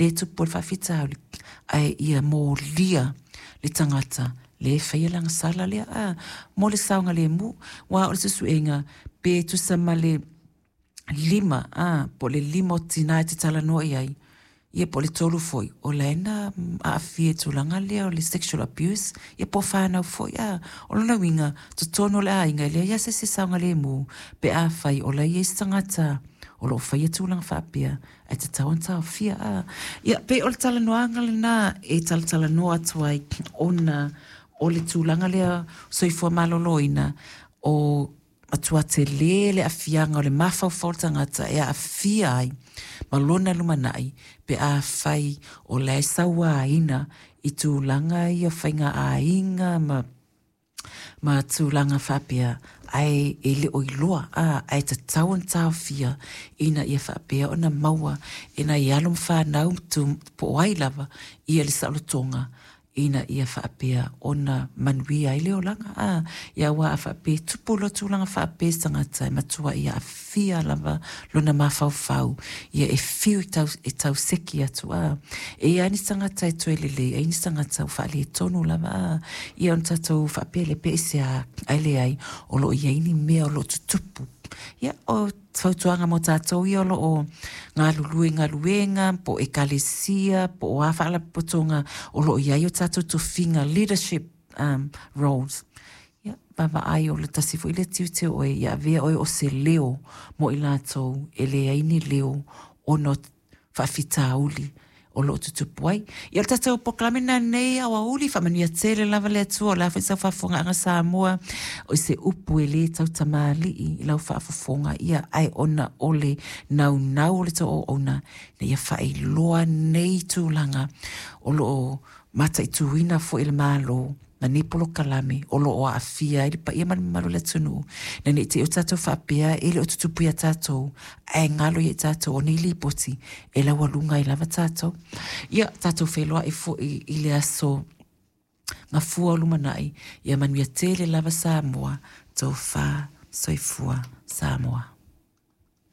lea e tupu ai le faafitauli, ae ia molia le tagata lea e faia le agasala lea, a, mo le saogalemu. Aua o le suesuega, pe tusa ma le 5, a, po o le 5 o tina e te talanoa i ai, ia po o le 3 foi, o la e na aafia i tulaga lea o le sexual abuse, ia po o fanau foi, a. O lona uiga, totonu o le aiga e leai lava se isi e saogalemu pe afai o la e i ai se tagata o lo o faia tulaga faapea, ae tatau ona taofia, a. Ia, pei o le talanoaga lena e talatalanoa atu ai ona o le tulaga lea soifua maloloina, o matua tele le aafiaga o le mafaufau o le tagata e aafia ai ma lona lumanai pe afai o la e sauaina i tulaga ia o faiga aiga ma ma tulaga faapea ae e le o iloa a ae tatau ona taofia ina ia faapea ona maua e nai alo ma fanau po o ai lava ia le saolotoga ina ia faapea ona manuia ai le olaga. A, ia aua a faapea e tupu loa tulaga faapea i se tagata e matua ia aafia lava lona mafaufau, ia e fiu e tau, e tauseki atu, a. E i ai ni tagata e toe lelei, ai ni tagata ua faaletonu lava, a. Ia ona tatou faapea lea pe aisea, ae leai, o lo o i ai ni mea o lo o tutupu. Ia, o fautuaga mo tatou ia o lo o galulue i galuega, po o ekalesia, po o a faalapotopotoga o lo o i ai o tatou tofiga, leadership um, roles. Ia, vaavaai o le tasi foi lea tiute o oe, ia avea oe o se leo mo i latou e leai ni leo ona o faafitauli o lo o tutupu ai. Ia o le tatou polokalame lena nei aoauli, faamanuia tele lava le Atua, o le a foi sau faafofogaaga Samoa, o se upu e le tautamalii i lau faafofoga, ia ae ona o le naunau o le tou auauna, ina ia faailoa nei tulaga o lo o mataituina foi e le Malo ma nei polokalame o lo o aafia ai le paia ma le mamalu o le atunuu, ina ne i te i ua tatou faapea e le o tutupu ia tatou, ae galo ia i tatou o nei lipoti e laualuga ai lava tatou. Ia, tatou feiloai foi i le aso Gafua o lumanai, ia manuia tele lava Samoa, tofa, soifua Samoa.